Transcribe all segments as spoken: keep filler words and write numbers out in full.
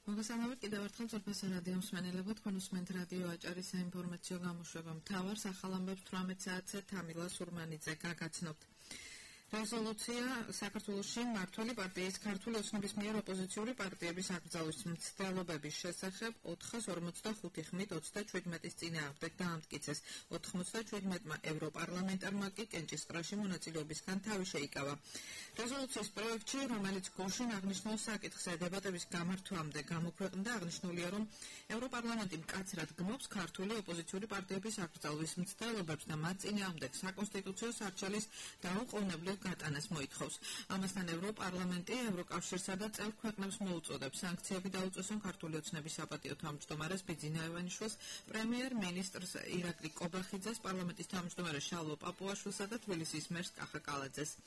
მოგესალმებით კიდევ ერთხელ ძვირფას რადიო მსმენელებო, თქვენ უსმენთ რადიო აჭარის საინფორმაციო გამოშვება მთავარ ახალ ამბებს თვრამეტ საათზე თამილა სურმანიძე გაგაცნობთ. რეზოლუცია საქართველოში მმართველი პარტიის ქართული ოცნების მიერ ოპოზიციური პარტიების აკრძალვის მცდელობების შესახებ ოთხას ორმოცდახუთი ხმით ოცდაჩვიდმეტის წინააღმდეგ დაამტკიცეს. ოთხმოცდაჩვიდმეტმა ევროპარლამენტარმა კი კენჭისყრაში მონაწილეობისგან თავი შეიკავა. რეზოლუციის პროექტში, რომელიც გუშინ აღნიშნულ საკითხზე დებატების გამართვამდე გამოქვეყნდა, აღნიშნულია, რომ ევროპარლამენტი მკაცრად გმობს ქართული ოპოზიციური პარტიების აკრძალვის მცდელობებს და მათ წინააღმდეგ საკონსტიტუციო სარჩელის დაუყოვნებლივ გატანას მოითხოვს. ამასთან ევროპარლამენტი ევროკავშირსა და წევრ ქვეყნებს მოუწოდებს სანქციები დაუწესონ ქართული ოცნების საპატიო თავმჯდომარეს ბიძინა ევანიშვილს, პრემიერ-მინისტრს ირაკლი კობახიძეს, პარლამენტის თავმჯდომარეს შალვა პაპუაშვილსა და თბილისის მერს კახა კალაძეს.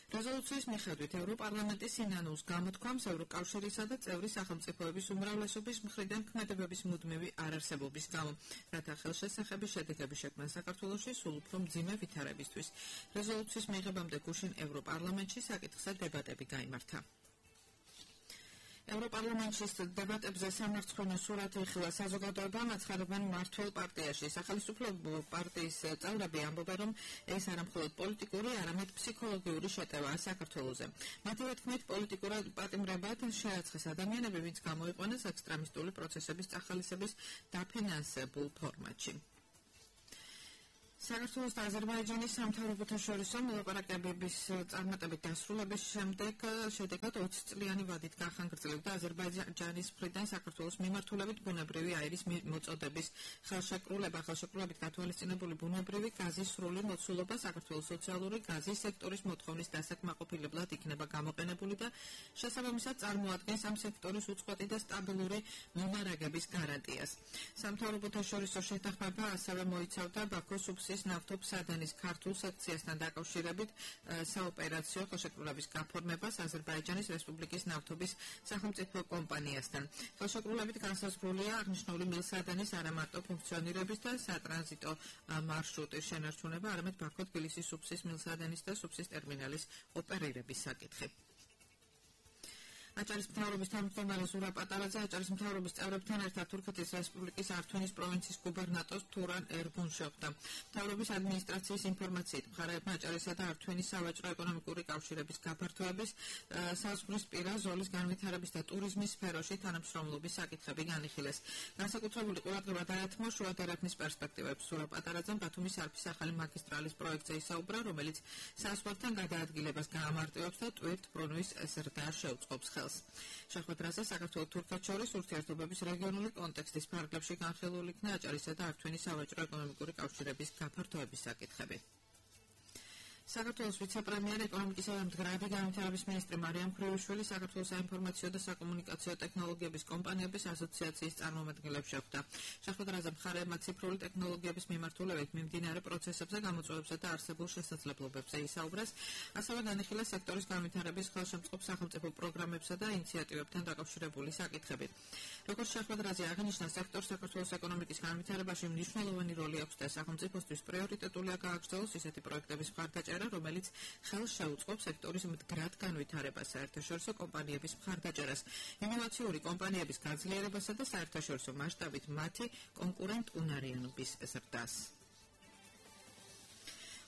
რეზოლუციის მიხედვით ევროპარლამენტი სინანულს გამოთქვამს ევროკავშირისა და წევრი სახელმწიფოების უმრავლესობის მხრიდან ქმედებების მუდმივი არარსებობის გამო, რათა ხელშესახების შედეგები შექმნან საქართველოში სულ უფრო მძიმე ვითარებისთვის. რეზოლუციის მიღებამდე გუშინ ევროპარლამენტში საკითხზე დებატები გაიმართა. ევროპარლამენტში დებატებზე სამარცხვინო სურათი იხილა საზოგადოებამ აცხადებენ მმართველ პარტიაში. სახელმწიფო პარტიის წევრები ამბობენ, რომ ეს არა მხოლოდ პოლიტიკური, არამედ ფსიქოლოგიური შეტევაა საქართველოზე. მათივე თქმით, პოლიტიკურად პატიმრებად შეაცხეს ადამიანები, ვინც გამოიყვანეს ექსტრემისტული პროცესების წახალისების დაფინანსებულ ფორმატში. საქართველოს და აზერბაიჯანის სამთავრობოთა შორის მოლაპარაკებების წარმატებით დასრულების შემდეგ შედეგად ოცწლიანი ვადით განხორციელდა აზერბაიჯანის მხრიდან საქართველოს მიმართულებით ბუნებრივი აირის მოწოდების ხელშეკრულება. ხელშეკრულებით გათვალისწინებული ბუნებრივი გაზის სრული მოცულობა საქართველოს სოციალური გაზის სექტორის მოთხოვნის დასაკმაყოფილებლად იქნება გამოყენებული და შესაბამისად წარმოადგენს ამ სექტორის უწყვეტი და სტაბილური მომარაგების გარანტიას. სამთავრობოთა შორისო შეთანხმება ასევე მოიცავდა ბაქოს ნავთობსადენის ქართულ სექციასთან დაკავშირებით საოპერაციო ხელშეკრულების გაფორმებას აზერბაიჯანის რესპუბლიკის ნავთობის სახელმწიფო კომპანიასთან. ხელშეკრულებით განსაზღვრულია აღნიშნული მილსადენის არა მარტო ფუნქციონირების და სატრანზიტო მარშრუტის შენარჩუნება, არამედ ბაქო-თბილისის სუფსის მილსადენის და სუფსის ტერმინალის ოპერირების საკითხი. აჭარის მთავრობის თავმჯდომარე ზურაბ პატარაძე აჭარის მთავრობის წევრებთან ერთად თურქეთის რესპუბლიკის ართვინის პროვინციის გუბერნატორს თურან ერგუნს შეხვდა. მთავრობის ადმინისტრაციის ინფორმაციით, მხარეებმა აჭარისა და ართვინის სავაჭრო-ეკონომიკური კავშირების გაფართოების, საზღვრისპირა ზოლის განვითარების და ტურიზმის სფეროში თანამშრომლობის საკითხები განიხილეს. განსაკუთრებული ყურადღება დაეთმო შუა დერეფნის პერსპექტივებს. ზურაბ პატარაძემ ბათუმის არფის ახალი მაგისტრალის პროექტზე ისაუბრა, რომელიც საზღვართან გადაადგილებას გაამარტივებს და ტვირთ-ბრუნვის ზრდას შეუწყობს ხელს. შეხვედრაზე საქართველოს თურქეთს შორის ურთიერთობების რეგიონული კონტექსტის ფარგლებში განხილული იქნა აჭარისა და ართვინის სავაჭრო-ეკონომიკური კავშირების გაფართოების საკითხები. საქართველოს ვიცე-პრემიერ ეკონომიკისა და მდგრადი განვითარების მინისტრი მარიამ ქრივიშვილი საქართველოს საინფორმაციო და საკომუნიკაციო ტექნოლოგიების კომპანიების ასოციაციის წარმომადგენლებს შეხვდა. შეხვედრაზე მხარეებმა ციფრული ტექნოლოგიების მიმართულებით მიმდინარე პროცესებზე, გამოწვევებზე და არსებულ შესაძლებლობებზე ისაუბრეს, ასევე განიხილეს სექტორის განვითარების ხელშემწყობ სახელმწიფო პროგრამებსა და ინიციატივებთან დაკავშირებული საკითხები. როგორც შეხვედრაზე აღინიშნა, სექტორს საქართველოს ეკონომიკის განვითარებაში მნიშვნელოვანი როლი აქვს და სახელმწიფოსთვის პრიორიტეტულია გააგრძელოს ისეთი პროექტების მხარდაჭერა, რომელიც ხელს შეუწყობს სექტორის მდგრად განვითარებას, საერთაშორისო კომპანიების მხარდაჭერას, ინოვაციური კომპანიების გაძლიერებასა და საერთაშორისო მასშტაბით მათი კონკურენტუნარიანობის ზრდას.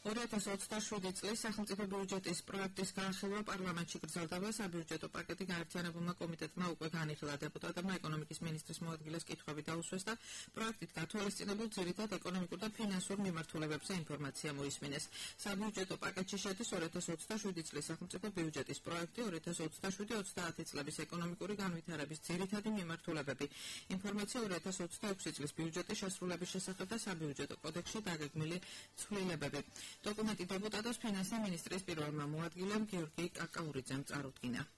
ორი ათას ოცდაშვიდი წლის სახელმწიფო ბიუჯეტის პროექტის განხილვა პარლამენტში გრძელდება. საბიუჯეტო პაკეტი გაერთიანებულმა კომიტეტმა უკვე განიხილა. დეპუტატებმა ეკონომიკის მინისტრის მოადგილეს კითხვები დაუსვეს და პროექტით გათვალისწინებულ ძირითად ეკონომიკურ და ფინანსურ მიმართულებებზე ინფორმაცია მოისმინეს. საბიუჯეტო პაკეტში შედის ორი ათას ოცდაშვიდი წლის სახელმწიფო ბიუჯეტის პროექტი, ორი ათას ოცდაშვიდი ოცდაათი წლების ეკონომიკური განვითარების ძირითადი მიმართულებები. ინფორმაცია ორი ათას ოცდაექვსი წლის ბიუჯეტის შესრულების შესახებ და საბიუჯეტო კოდექსში დაგეგმილი ცვლილებები. დოკუმენტი დეპუტატებს ფინანსთა მინისტრის პირველმა მოადგილემ გიორგი კაკაურიძემ წარუდგინა.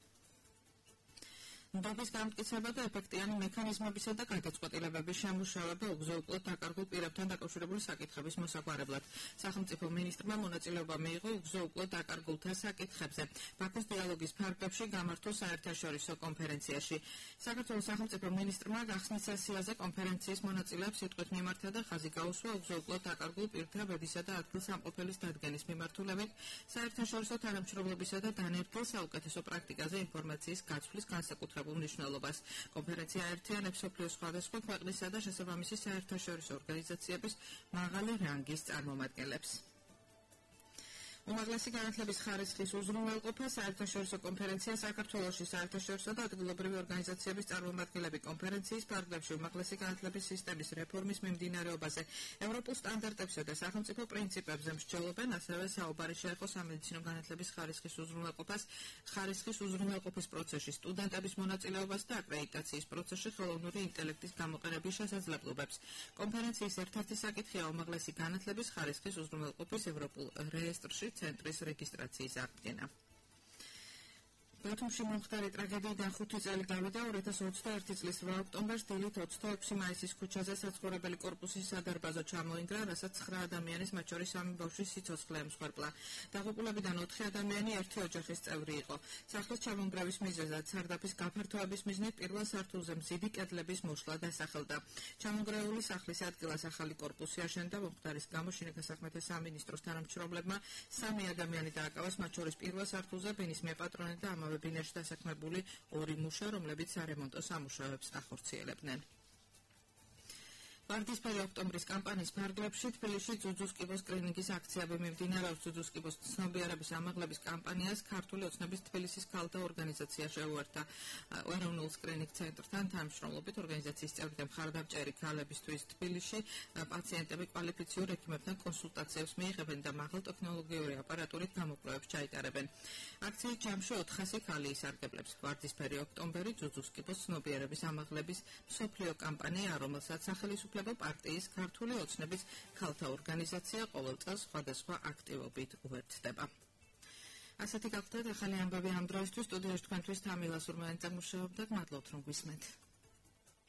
ნდობის გამტკიცება და ეფექტიანი მექანიზმებისა და გადაწყვეტილებების შემუშავება უგზო-უკვლოდ დაკარგულ პირებთან დაკავშირებული საკითხების მოსაგვარებლად. სახელმწიფო მინისტრმა მონაწილეობა მიიღო უგზო-უკვლოდ დაკარგულთა საკითხებზე ბაქოს დიალოგის ფარგლებში გამართულ საერთაშორისო კონფერენციაში. საქართველოს სახელმწიფო მინისტრმა გახსნის სესიაზე კონფერენციის მონაწილეებს სიტყვით მიმართა და ხაზი გაუსვა უგზო-უკვლოდ დაკარგულ პირთა ბედისა და ადგილსამყოფელის დადგენის მიმართულებით საერთაშორისო თანამშრომლობისა და დანერგილ საუკეთესო პრაქტიკაზე ინფორმაციის გაცვლის განსაკუთრებულ მნიშვნელობას. კონფერენცია აერთიანებს მსოფლიოს სხვადასხვა ქვეყნისა და შესაბამისი საერთაშორისო ორგანიზაციების მაღალი რანგის წარმომადგენლებს. უმაღლესი განათლების ხარისხის უზრუნველყოფა საერთაშორისო კონფერენცია საქართველოში საერთაშორისო და ადგილობრივი ორგანიზაციების წარმომადგენლები კონფერენციის ფარგლებში უმაღლესი განათლების სისტემის რეფორმის მიმდინარეობაზე, ევროპულ სტანდარტებსა და სახელმწიფო პრინციპებზე მსჯელობენ, ასევე საუბარი შეეხო სამედიცინო განათლების ხარისხის უზრუნველყოფას, ხარისხის უზრუნველყოფის პროცესში, სტუდენტების მონაწილეობას და აკრედიტაციის პროცესში ხელოვნური ინტელექტის გამოყენების შესაძლებლობებს. კონფერენციის ერთ-ერთი საკითხია უმაღლესი განათლების ხარისხის უზრუნველყოფის ევროპულ რეესტრში ცენტრის რეგისტრაციის აღდგენა. ბათუმში მომხდარი ტრაგედიიდან ხუთი წელი გავიდა ორი ათას ოცდაერთი წლის რვა ოქტომბერს დილით ოცდაექვსი მაისის ქუჩაზე საცხოვრებელი კორპუსის სადარბაზო ჩამოინგრა, რასაც ცხრა ადამიანის, მათ შორის სამი ბავშვის სიცოცხლე ემსხვერპლა. დაღუპულებიდან ოთხი ადამიანი ერთი ოჯახის წევრი იყო. სახლის ჩამონგრევის მიზეზად სარდაფის გაფართოების მიზნით პირველ სართულზე მზიდი კედლების მოშლა დასახელდა. ჩამონგრეული სახლის ადგილას ახალი კორპუსი აშენდა. მომხდარის გამო შინაგან საქმეთა სამინისტროს თანამშრომლებმა სამი ადამიანი დააკავეს, მათ შორის პირველ სართულზე ბინის მეპატრონე და ამავე ბინაში დასაქმებული ორი მუშა, რომლებიც სარემონტო სამუშაოებს ახორციელებდნენ. ვარდისფერი ოქტომბრის კამპანიის ფარგლებში თბილისში ძუძუსკიბოს სკრინინგის აქციები მიმდინარეობს. ძუძუსკიბოს ცნობიერების ამაღლების კამპანიას ქართული ოცნების თბილისის ქალთა ორგანიზაცია შეუერთდა. ეროვნულ სკრინინგ ცენტრთან თანამშრომლობით ორგანიზაციის წევრი და მხარდამჭერი ქალებისთვის თბილისში პაციენტები კვალიფიციურ ექიმებთან კონსულტაციებს მიიღებენ და მაღალტექნოლოგიური აპარატურით გამოკვლევებს ჩაიტარებენ. აქციის ჯამში ოთხასი ქალი ისარგებლებს. ვარდისფერი ოქტომბერი ძუძუსკიბოს ცნობიერების ამაღლების მსოფლიო კამპანია, რომელსაც სახელისუფლება პარტიის ქართული ოცნების ქალთა ორგანიზაცია ყოველ წელს სხვადასხვა აქტივობით უერთდება. ასეთი გახლდათ ახალი ამბები ამ დროისთვის. სტუდიაში თქვენთვის თამილა სურმიანი წამოშევებდა. მადლობთ რომ გვისმენთ.